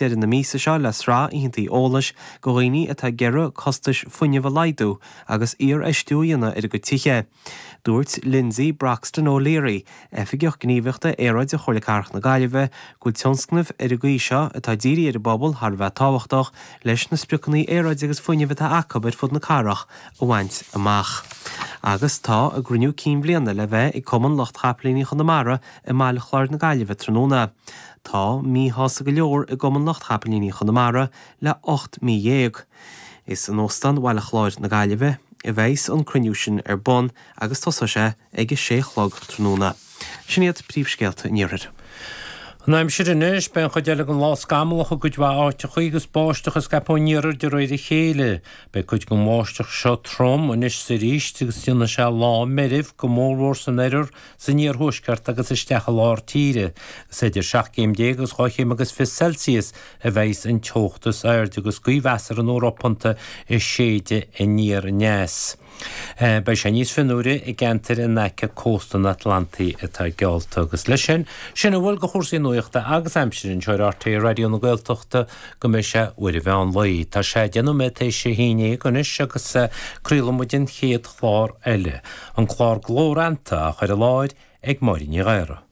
Deireadh na míosa seo le sraith oícheantaí eolais do dhaoine atá ag iarraidh costais fuinnimh a laghdú agus iarfheistiú a dhéanamh ar a gcuid tithe. Dúirt Lindsay Broxton O'Leary, Oifigeach Gníomhaíochta Aeráide Chomhairle Cathrach na Gaillimhe, go bhfuil tionscnaimh ar an gcaoi seo atá dírithe ar an bpobal thar a bheith tábhachtach leis na spriocanna aeráide agus fuinnimh atá acu ar fud na cathrach a bhaint amach. Agus tá a gcruinniú cinn bhliana le bheith ag Cumann Lucht Chapaillíní Chonamara i mBaile Chláir na Gaillimhe tráthnóna. Tá míshásta go leor i gCumann Lucht Chapaillíní Chonamara le 18 mí. Is in Óstán Bhaile Chláir na Gaillimhe a bheas an cruinniú sin ar bun agus tosóidh sé ag a sé a chlog tráthnóna. Sin iad príomhscéalta an Iarthair. An aimsir anois, beidh an chuid eile den lá scamallach i gcuid mhaith áiteachaí agus báisteach ag scaipeadh ón iarthar de réir a chéile. Beidh cuid den bháisteach seo trom anois is arís agus déanfaidh sé lá meirbh, go mórmhór san oirthear, san iarthuaisceart agus isteach i lár tíre. Is idir 17 céim agus 2 chéim agus 20 Celsius a bheidhs an teocht is airde agus gaoth mheasartha nó ropánta ag séideadh aniar aneas. Beidh sé níos fionnuaire i gceantair in aice cósta an Atlantaigh atá geallta. Agus leis sin, sin a bhfuil de chúrsaí nuachta agus aimsire anseo ar RTÉ Raidió na Gaeltachta go mbeidh sé uair an mheán lae. Tá sé 10 nóiméad théis a haon dhéag anois agus craolfaidh muid an chéad chlár eile, an clár Glór Fheannta á chur i láthair ag Máire Ní Ghadhra.